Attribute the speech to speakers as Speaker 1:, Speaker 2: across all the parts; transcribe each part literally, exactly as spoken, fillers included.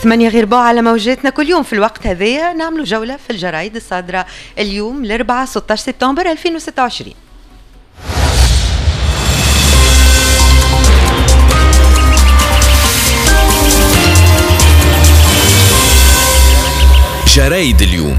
Speaker 1: ثمانية غير ربع على موجاتنا. كل يوم في الوقت هذايا نعملوا جولة في الجرايد الصادرة اليوم الأربعاء ستة عشر سبتمبر ألفين وستة وعشرين.
Speaker 2: جرايد اليوم،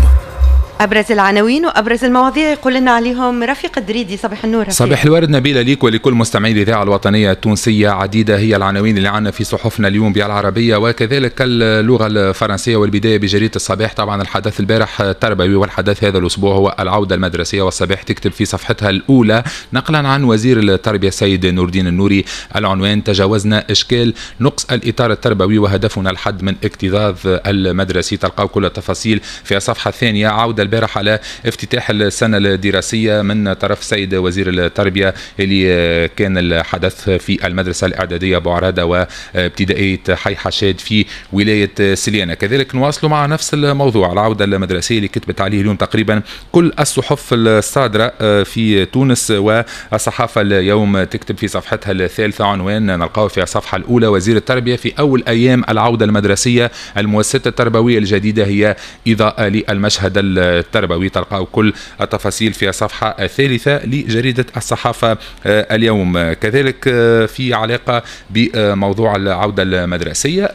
Speaker 1: أبرز العناوين وأبرز المواضيع يقول لنا عليهم رفيق الدريدي. صباح النور رفيق.
Speaker 3: صباح الورد نبيلة ليك ولكل مستمعي الإذاعة الوطنية التونسية. عديدة هي العناوين اللي عندنا في صحفنا اليوم بالعربية وكذلك اللغة الفرنسية، والبداية بجريدة الصباح. طبعا الحدث البارح التربوي والحدث هذا الأسبوع هو العودة المدرسية، والصباح تكتب في صفحتها الأولى نقلا عن وزير التربية السيد نور الدين النوري العنوان: تجاوزنا إشكال نقص الإطار التربوي وهدفنا الحد من اكتظاظ المدرسي. تلقاو كل التفاصيل في الصفحة الثانية. عودة البارح على افتتاح السنة الدراسية من طرف السيد وزير التربية اللي كان الحدث في المدرسة الإعدادية بوعرادة وابتدائية حي حشاد في ولاية سليانة. كذلك نواصل مع نفس الموضوع، العودة المدرسية اللي كتبت عليه اليوم تقريبا كل الصحف الصادرة في تونس، والصحافة اليوم تكتب في صفحتها الثالثة عنوان نلقاه في الصفحة الأولى: وزير التربية في أول أيام العودة المدرسية، المؤسسة التربوية الجديدة هي إضاءة للمشهد التربوي. تلقاو كل التفاصيل في الصفحة الثالثة لجريدة الصحافة اليوم. كذلك في علاقة بموضوع العودة المدرسية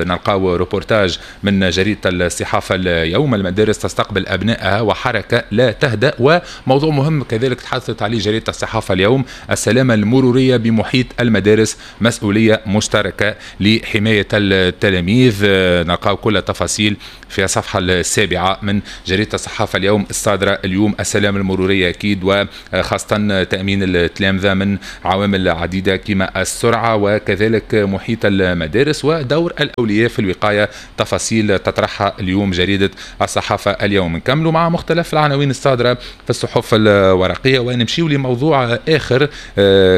Speaker 3: نلقاو روبورتاج من جريدة الصحافة اليوم: المدارس تستقبل أبنائها وحركة لا تهدأ. وموضوع مهم كذلك تحدثت عليه جريدة الصحافة اليوم: السلامة المرورية بمحيط المدارس مسؤولية مشتركة لحماية التلاميذ. نلقاو كل التفاصيل في الصفحة السابعة من جريدة الصحافة اليوم الصادرة اليوم. السلامة المرورية أكيد، وخاصة تأمين التلامذة من عوامل عديدة كما السرعة وكذلك محيط المدارس ودور الأولياء في الوقاية. تفاصيل تطرحها اليوم جريدة الصحافة اليوم. نكملوا مع مختلف العناوين الصادرة في الصحف الورقية ونمشيو لموضوع آخر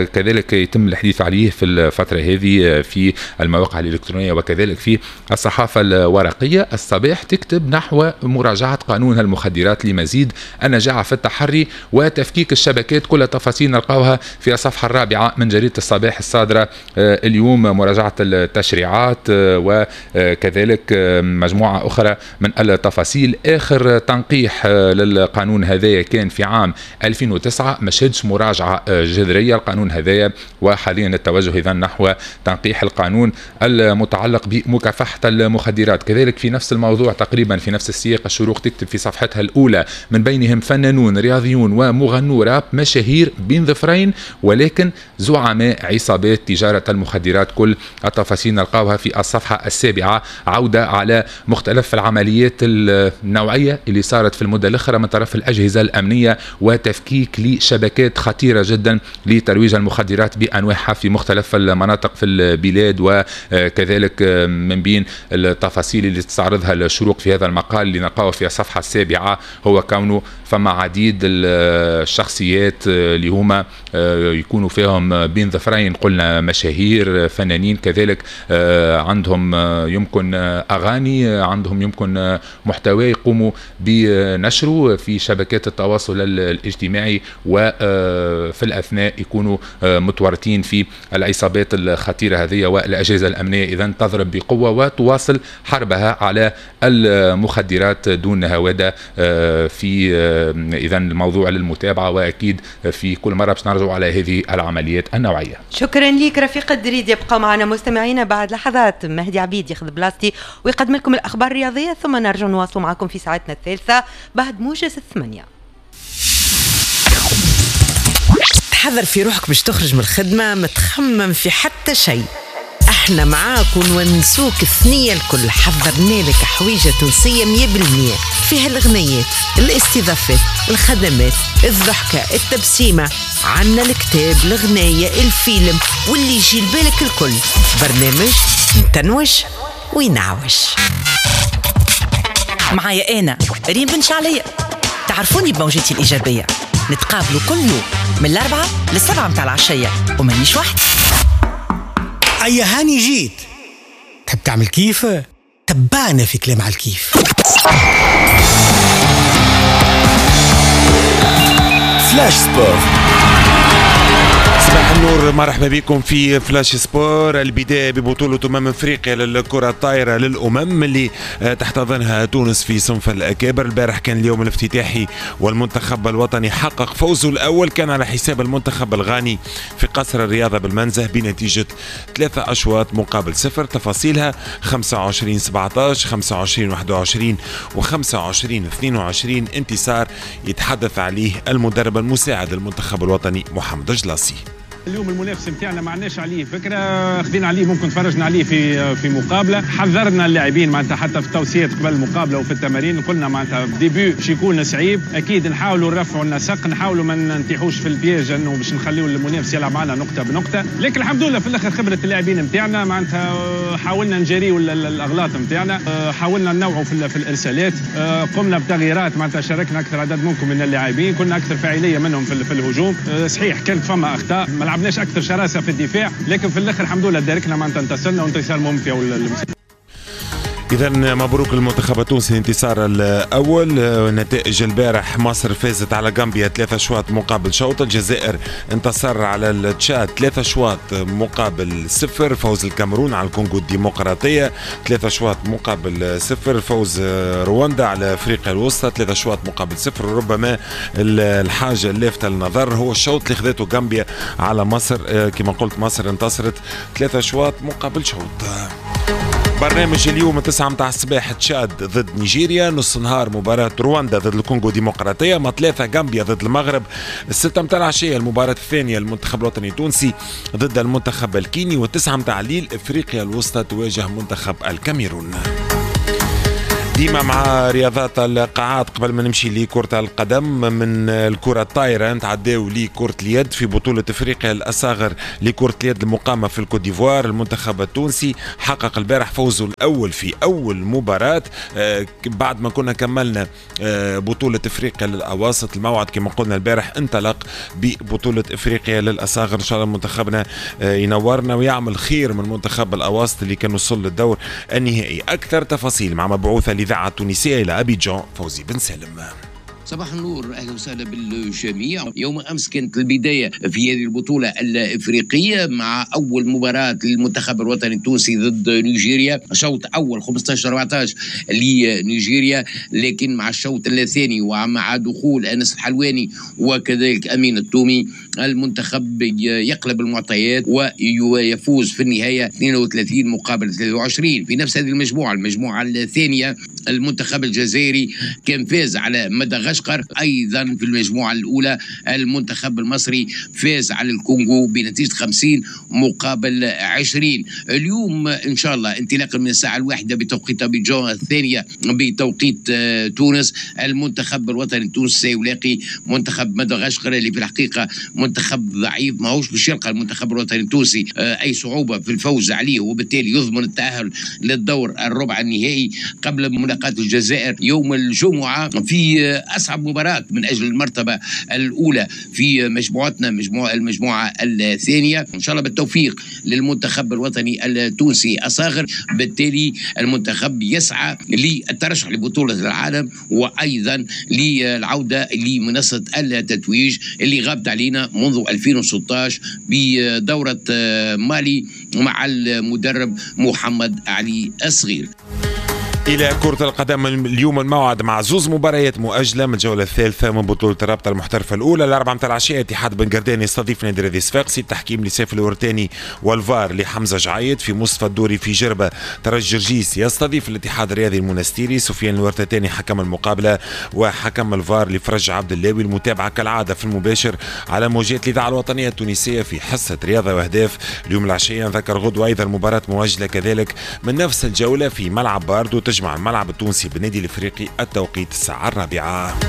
Speaker 3: كذلك يتم الحديث عليه في الفترة هذه في المواقع الإلكترونية وكذلك في الصحافة الورقية. الصباح تكتب نحو مراجعة قانون المخدرات لمزيد النجاعة في التحري وتفكيك الشبكات. كل التفاصيل نلقاوها في الصفحة الرابعة من جريدة الصباح الصادرة اليوم. مراجعة التشريعات وكذلك مجموعة أخرى من التفاصيل. آخر تنقيح للقانون هذايا كان في عام ألفين وتسعة، ما شهدش مراجعة جذرية القانون هذايا، وحاليا التوجه إذا نحو تنقيح القانون المتعلق بمكافحة المخدرات. كذلك في نفس الموضوع تقريبا في نفس السياق الشروق تكتب في صفحتها الأولى: من بينهم فنانون رياضيون ومغنو راب مشاهير بين ظفرين ولكن زعماء عصابات تجارة المخدرات. كل التفاصيل نلقاوها في الصفحة السابعة. عودة على مختلف العمليات النوعية اللي صارت في المدة الأخرى من طرف الأجهزة الأمنية وتفكيك لشبكات خطيرة جدا لترويج المخدرات بأنواعها في مختلف المناطق في البلاد. وكذلك من بين التفاصيل اللي تستعرضها الشروق في هذا المقال اللي نلقاه في الصفحة السابعة هو كونه فما عديد الشخصيات اللي هما يكونوا فيهم بين ظفرين، قلنا مشاهير فنانين، كذلك عندهم يمكن أغاني، عندهم يمكن محتوى يقوموا بنشره في شبكات التواصل الاجتماعي، وفي الأثناء يكونوا متورطين في العصابات الخطيرة هذه. والأجهزة الأمنية إذن تضرب بقوة وتواصل حربها على المخدرات دون هوادة. في إذا الموضوع للمتابعة، وأكيد في كل مرة باش نرجع على هذه العمليات النوعية.
Speaker 1: شكرا لك رفيق الدريد. يبقى معنا مستمعينا بعد لحظات مهدي عبيد ياخذ بلاصتي ويقدم لكم الأخبار الرياضية، ثم نرجع نواصل معكم في ساعتنا الثالثة بعد موجز الثمانية.
Speaker 4: تحضر في روحك باش تخرج من الخدمة ما تخمم في حتى شيء، احنا معاك ونونسوك الثنية الكل. حضرنا لك حويجة تونسية مية بالمية فيها الغنيات، الاستضافات، الخدمات، الضحكة، التبسيمة، عنا الكتاب، الغناية، الفيلم واللي يجي لبالك الكل. برنامج متنوش وينعوش.
Speaker 5: معايا أنا ريم بن شعلية، تعرفوني بموجتي الإيجابية. نتقابلوا كل يوم من الأربعة للسبعة متاع العشية ومانيش وحدي.
Speaker 6: أي هاني جيت تحب تعمل كيف؟ تبعنا في كلام على الكيف.
Speaker 2: Flash Sport. صباح النور، مرحبا بكم في flash sport. البداية ببطولة أمم أفريقيا للكرة الطائرة للأمم اللي تحتضنها تونس في صنف الأكابر. البارح كان اليوم الافتتاحي والمنتخب الوطني حقق فوزه الأول، كان على حساب المنتخب الغاني في قصر الرياضة بالمنزه بنتيجة ثلاثة أشواط مقابل صفر. تفاصيلها خمسة وعشرين سبعة عشر، خمسة وعشرين واحد وعشرين وخمسة وعشرين اثنين وعشرين. انتصار يتحدث عليه المدرب المساعد للمنتخب الوطني محمد جلاسي.
Speaker 7: اليوم المنافس نتاعنا ما عندناش عليه فكرة، خذينا عليه ممكن تفرجنا عليه في في مقابله، حذرنا اللاعبين معناتها حتى في التوصيات قبل المقابلة وفي التمارين قلنا معناتها début باش يكون صعيب، اكيد نحاولوا نرفعوا النسق، نحاولوا ما نتيحوش في ال piège انه باش نخليوا المنافس يلعب معنا نقطة بنقطة، لكن الحمد لله في الاخر خبره اللاعبين نتاعنا معناتها حاولنا نجاريوا الاغلاط نتاعنا، حاولنا ننوعوا في, في الارسالات، قمنا بتغييرات معناتها شاركنا اكثر عدد ممكن من اللاعبين، كنا اكثر فاعلية منهم في, في الهجوم، صحيح كانت فما اخطاء، ما لعبناش اكثر شراسة في الدفاع، لكن في الاخر الحمد لله داركنا معناتها انتصرنا وانتصار مهم في اول المسابقة.
Speaker 2: إذا مبروك للمنتخب التونسي الانتصار الأول. نتائج البارح: مصر فازت على غامبيا ثلاثة شواط مقابل شوط، الجزائر انتصر على التشاد ثلاثة شواط مقابل صفر، فوز الكاميرون على الكونغو الديمقراطية ثلاثة شواط مقابل صفر، فوز رواندا على أفريقيا الوسطى ثلاثة شواط مقابل صفر. ربما الحاجة اللافتة للنظر هو الشوط اللي خذته غامبيا على مصر، كما قلت مصر انتصرت ثلاثة شواط مقابل شوط. برنامج اليوم تسعة متاع الصباح تشاد ضد نيجيريا، نص نهار مباراة رواندا ضد الكونغو ديمقراطية، ما ثلاثة غامبيا ضد المغرب، الستة متاع العشية المباراة الثانية المنتخب الوطني التونسي ضد المنتخب الكيني، والتسعة متاع الليل افريقيا الوسطى تواجه منتخب الكاميرون. ديما مع رياضات القاعات قبل ما نمشي لكرة القدم، من الكرة الطايرة نتعداو لكرة اليد في بطولة افريقيا الأصاغر لكرة اليد المقامة في الكوت ديفوار. المنتخب التونسي حقق البارح فوزه الأول في أول مباراة بعد ما كنا كملنا بطولة افريقيا للأواسط. الموعد كما قلنا البارح انطلق ببطولة افريقيا للأصاغر. إن شاء الله منتخبنا ينورنا ويعمل خير من منتخب الأواسط اللي كان وصل للدور النهائي. أكثر تفاصيل مع مبعوثة الإذاعة التونسية إلى أبيجان فوزي بن سالم.
Speaker 8: صباح النور، اهلا وسهلا بالجميع. يوم امس كانت البداية في هذه البطولة الافريقية مع اول مباراة للمنتخب الوطني التونسي ضد نيجيريا، شوط اول خمسة عشر أربعة عشر لنيجيريا، لكن مع الشوط الثاني ومع دخول انس الحلواني وكذلك امين التومي المنتخب يقلب المعطيات ويفوز في النهاية اثنين وثلاثين مقابل ثلاثة وعشرين. في نفس هذه المجموعة، المجموعة الثانية، المنتخب الجزائري كان فاز على مدغشقر. ايضا في المجموعة الاولى المنتخب المصري فاز على الكونغو بنتيجة خمسين مقابل عشرين. اليوم ان شاء الله انطلاقا من الساعة الواحدة بتوقيت ابيجان، الثانية بتوقيت تونس، المنتخب الوطني التونسي سيلاقي منتخب مدغشقر اللي في الحقيقة منتخب ضعيف، ماهوش باش يلقى المنتخب الوطني التونسي اي صعوبة في الفوز عليه، وبالتالي يضمن التاهل للدور الربع النهائي قبل ملاقاه الجزائر يوم الجمعة في اصعب مباراة من اجل المرتبة الاولى في مجموعتنا، مجموعة المجموعة الثانية. ان شاء الله بالتوفيق للمنتخب الوطني التونسي الصاغر. بالتالي المنتخب يسعى للترشح لبطولة العالم وايضا للعودة لمنصه التتويج اللي غابت علينا منذ ألفين وستة عشر بدوره مالي مع المدرب محمد علي الصغير.
Speaker 2: إلى كرة القدم اليوم الموعد مع زوز مباريات مؤجلة من الجولة الثالثة من بطولة الرابطة المحترفة الأولى. الأربعة متاع العشية اتحاد بن قردان يستضيف نادي رياضي صفاقسي، التحكيم لسيف الورتاني والفار لحمزة جعيد. في مصطفى الدوري في جربة ترجي جرجيس يستضيف الاتحاد الرياضي المنستيري، سفيان الورتاني حكم المقابلة وحكم الفار لفرج عبد اللاوي. المتابعة كالعادة في المباشر على موجات الإذاعة الوطنية التونسية في حصة رياضة وأهداف اليوم العشية. نذكر غدوة أيضا مباراة مؤجلة كذلك من نفس الجولة في ملعب باردو تجمع الملعب التونسي بالنادي الافريقي، التوقيت الساعة الرابعة.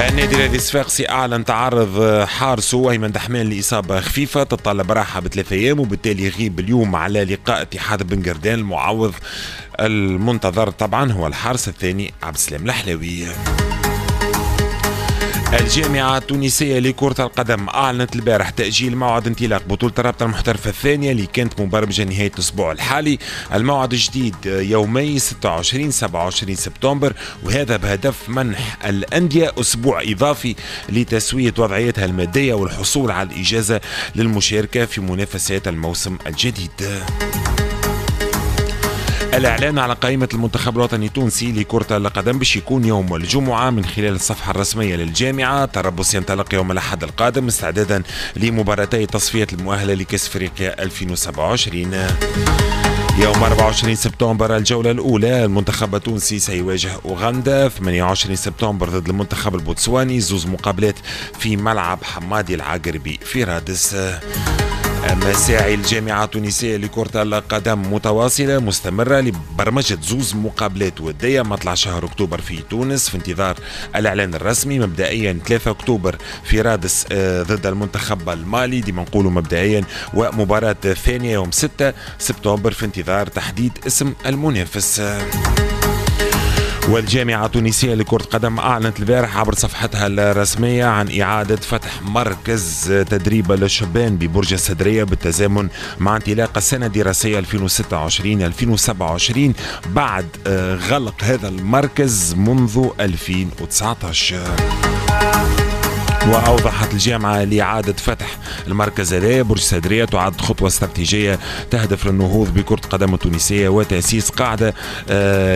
Speaker 2: النادي الرياضي الصفاقسي اعلن تعرض حارسه ايمن دحمان لاصابة خفيفة تتطلب راحة بثلاث ايام، وبالتالي يغيب اليوم على لقاء اتحاد بن قردان. المعوض المنتظر طبعا هو الحارس الثاني عبد السلام الحلاوي. الجامعة التونسية لكرة القدم أعلنت البارح تأجيل موعد انطلاق بطولة الرابطة المحترفة الثانية اللي كانت مبرمجة نهاية الأسبوع الحالي. الموعد الجديد يومي ستة وعشرين سبعة وعشرين سبتمبر، وهذا بهدف منح الأندية أسبوع إضافي لتسوية وضعيتها المادية والحصول على الإجازة للمشاركة في منافسات الموسم الجديد. الإعلان على قائمة المنتخب الوطني التونسي لكرة القدم باش يكون يوم الجمعة من خلال الصفحة الرسمية للجامعة. تربص ينطلق يوم الأحد القادم استعدادا لمباراتي تصفية المؤهلة لكأس أفريقيا ألفين وسبعة وعشرين. يوم أربعة وعشرين سبتمبر الجولة الأولى المنتخب التونسي سيواجه أوغندا. ثمانية وعشرين سبتمبر ضد المنتخب البوتسواني، زوز مقابلات في ملعب حمادي العقربي في رادس. مساعي الجامعة التونسية لكرة القدم متواصلة مستمرة لبرمجة زوز مقابلات ودية مطلع شهر أكتوبر في تونس في انتظار الإعلان الرسمي. مبدئيا ثلاثة أكتوبر في رادس ضد المنتخب المالي، ديما نقولوا مبدئيا، ومباراة ثانية يوم ستة سبتمبر في انتظار تحديد اسم المنافس. والجامعة التونسية لكرة القدم أعلنت البارح عبر صفحتها الرسمية عن إعادة فتح مركز تدريب للشبان ببرج السدرية بالتزامن مع انطلاق السنة الدراسية ألفين وستة وعشرين ألفين وسبعة وعشرين بعد غلق هذا المركز منذ ألفين وتسعة عشر. وأوضحت الجامعة لإعادة فتح المركز هذا برج السدرية تعد خطوة استراتيجية تهدف للنهوض بكرة القدم التونسية وتأسيس قاعدة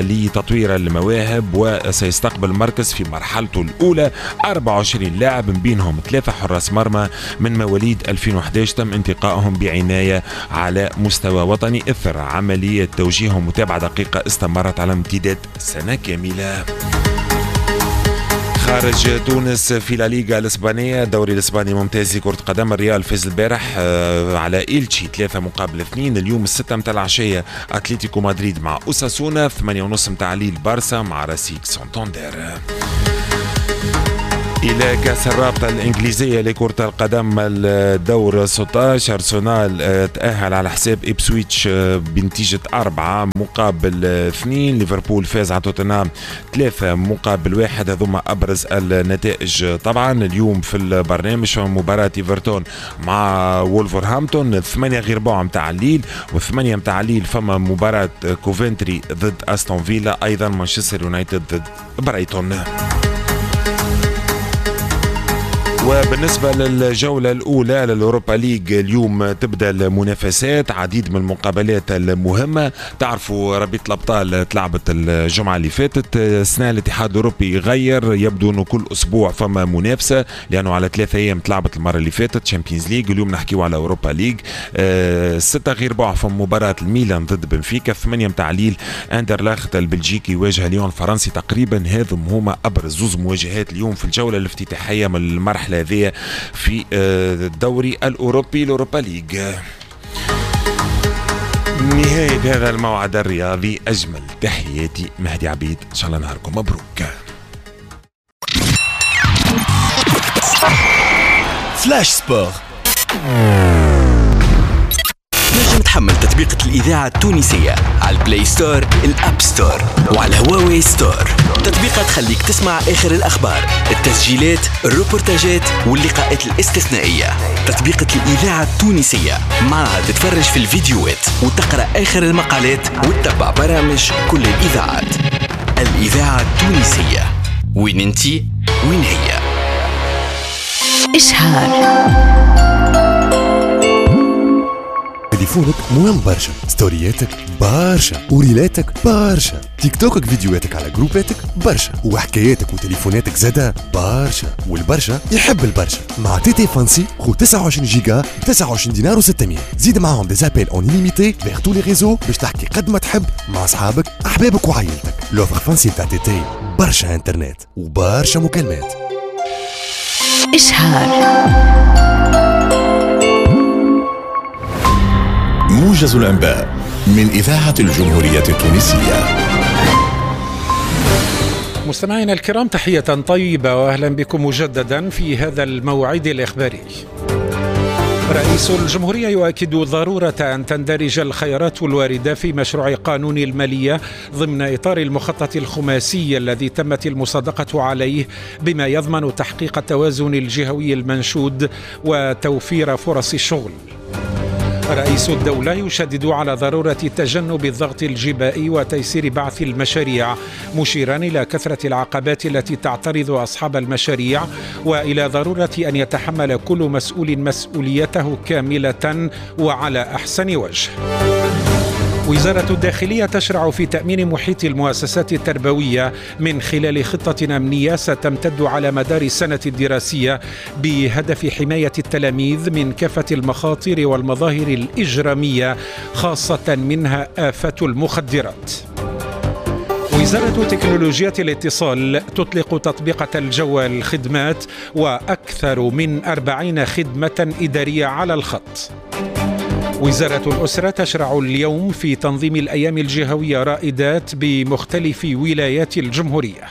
Speaker 2: لتطوير المواهب. وسيستقبل المركز في مرحلته الأولى أربعة وعشرين لاعب من بينهم ثلاثة حراس مرمى من مواليد ألفين وأحد عشر تم انتقائهم بعناية على مستوى وطني إثر عملية توجيه ومتابعة دقيقة استمرت على امتداد سنة كاملة. خارج تونس في لا ليغا الاسبانية، الدوري الاسباني ممتاز لكرة قدم، الريال فاز البارح على إلتشي ثلاثة مقابل اثنين. اليوم الستة متاع العشية اتلتيكو مدريد مع اوساسونا، ثمانية ونص متاع الليل بارسا مع راسيك سانتاندير. إلى كأس الرابطة الإنجليزية لكرة القدم الدور ستة عشر، أرسنال تأهل على حساب إبسويتش بنتيجة أربعة مقابل اثنين، ليفربول فاز على توتنهام ثلاثة مقابل واحد. هذوما أبرز النتائج. طبعا اليوم في البرنامج مباراة إيفرتون مع وولفرهامبتون ثمانية غير ربع متاع الليل، وثمانية متاع الليل فما مباراة كوفنتري ضد أستون فيلا، أيضا مانشستر يونايتد ضد برايتون. وبالنسبة للجولة الأولى للأوروبا ليج اليوم تبدأ المنافسات، عديد من المقابلات المهمة. تعرفوا رابطة الأبطال تلعبت الجمعة اللي فاتت، السنة الاتحاد الأوروبي غير، يبدو أنه كل أسبوع فما منافسة لأنه على ثلاثة أيام تلعبت المرة اللي فاتت Champions League، اليوم نحكيو على أوروبا ليج. أه ستة غير ربع فما مباراة الميلان ضد بنفيكا، ثمانية متاع الليل أندرلاخت البلجيكي يواجه ليون الفرنسي. تقريبا هذم هما أبرز زوز مواجهات اليوم في الجولة الافتتاحية من المرحلة هذه في الدوري الأوروبي الأوروبا ليج. نهاية هذا الموعد الرياضي، أجمل تحياتي مهدي عبيد، إن شاء الله نهاركم مبروك.
Speaker 9: Flash Sport. نجم تحمل تطبيقة الإذاعة التونسية على ال Play Store، ال App Store وعلى هواوي Store. تطبيقة تخليك تسمع آخر الأخبار، التسجيلات، الروبورتاجات واللقاءات الاستثنائية. تطبيقة الإذاعة التونسية معها تتفرج في الفيديوهات وتقرأ آخر المقالات وتتبع برامج كل الإذاعات. الإذاعة التونسية، وين انتي وين هي.
Speaker 4: إشهار.
Speaker 10: تليفونك مهم برشا، ستورياتك برشا، وريلاتك برشا، تيك توكك فيديوهاتك على جروباتك برشا، وحكاياتك وتليفوناتك زادا برشا، والبرشا يحب البرشا. مع TT Fancy خو تسعة وعشرين جيجا ب تسعة وعشرين دينار وستمية، زيد معاهم des appels en illimité vers tous les réseaux باش تحكي قد ما تحب مع اصحابك احبابك وعائلتك. l'offre Fancy تاع TT، برشا انترنت وبرشا مكالمات.
Speaker 4: إشهار.
Speaker 11: موجز الأنباء من إذاعة الجمهورية التونسية.
Speaker 12: مستمعينا الكرام، تحية طيبة وأهلا بكم مجددا في هذا الموعد الإخباري. رئيس الجمهورية يؤكد ضرورة أن تندرج الخيارات الواردة في مشروع قانون المالية ضمن إطار المخطط الخماسي الذي تمت المصادقة عليه، بما يضمن تحقيق التوازن الجهوي المنشود وتوفير فرص الشغل. رئيس الدولة يشدد على ضرورة تجنب الضغط الجبائي وتيسير بعث المشاريع، مشيرا إلى كثرة العقبات التي تعترض أصحاب المشاريع، وإلى ضرورة أن يتحمل كل مسؤول مسؤوليته كاملة وعلى أحسن وجه. وزارة الداخلية تشرع في تأمين محيط المؤسسات التربوية من خلال خطة أمنية ستمتد على مدار السنة الدراسية بهدف حماية التلاميذ من كافة المخاطر والمظاهر الإجرامية، خاصة منها آفة المخدرات. وزارة تكنولوجيا الاتصال تطلق تطبيقة الجوال خدمات وأكثر من أربعين خدمة إدارية على الخط. وزارة الأسرة تشرع اليوم في تنظيم الأيام الجهوية رائدات بمختلف ولايات الجمهورية.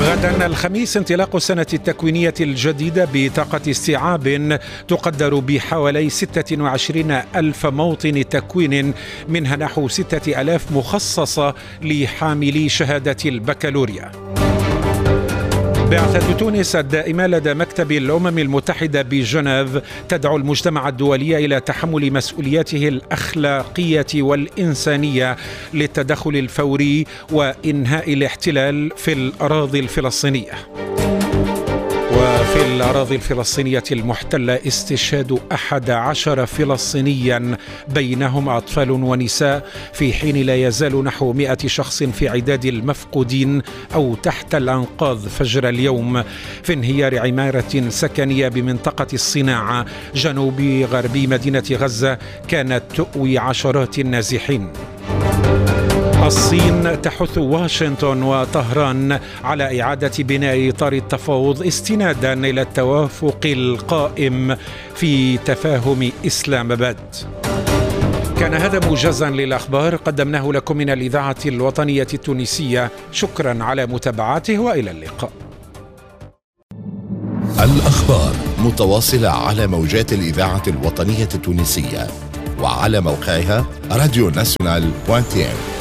Speaker 12: غدا الخميس انطلاق السنة التكوينية الجديدة بطاقة استيعاب تقدر بحوالي ستة وعشرين ألف موطن تكوين، منها نحو ستة آلاف مخصصة لحاملي شهادة البكالوريا. بعثة تونس الدائمة لدى مكتب الأمم المتحدة بجنيف تدعو المجتمع الدولي إلى تحمل مسؤولياته الأخلاقية والإنسانية للتدخل الفوري وإنهاء الاحتلال في الأراضي الفلسطينية. وفي الأراضي الفلسطينية المحتلة استشهاد أحد عشر فلسطينيا بينهم أطفال ونساء، في حين لا يزال نحو مئة شخص في عداد المفقودين أو تحت الأنقاض فجر اليوم في انهيار عمارة سكنية بمنطقة الصناعة جنوب غربي مدينة غزة كانت تؤوي عشرات النازحين. الصين تحث واشنطن وطهران على إعادة بناء إطار التفاوض استنادا إلى التوافق القائم في تفاهم إسلام آباد. كان هذا موجزا للأخبار قدمناه لكم من الإذاعة الوطنية التونسية. شكرا على متابعته وإلى اللقاء.
Speaker 11: الأخبار متواصلة على موجات الإذاعة الوطنية التونسية وعلى موقعها راديو ناسيونال دوت تي إن.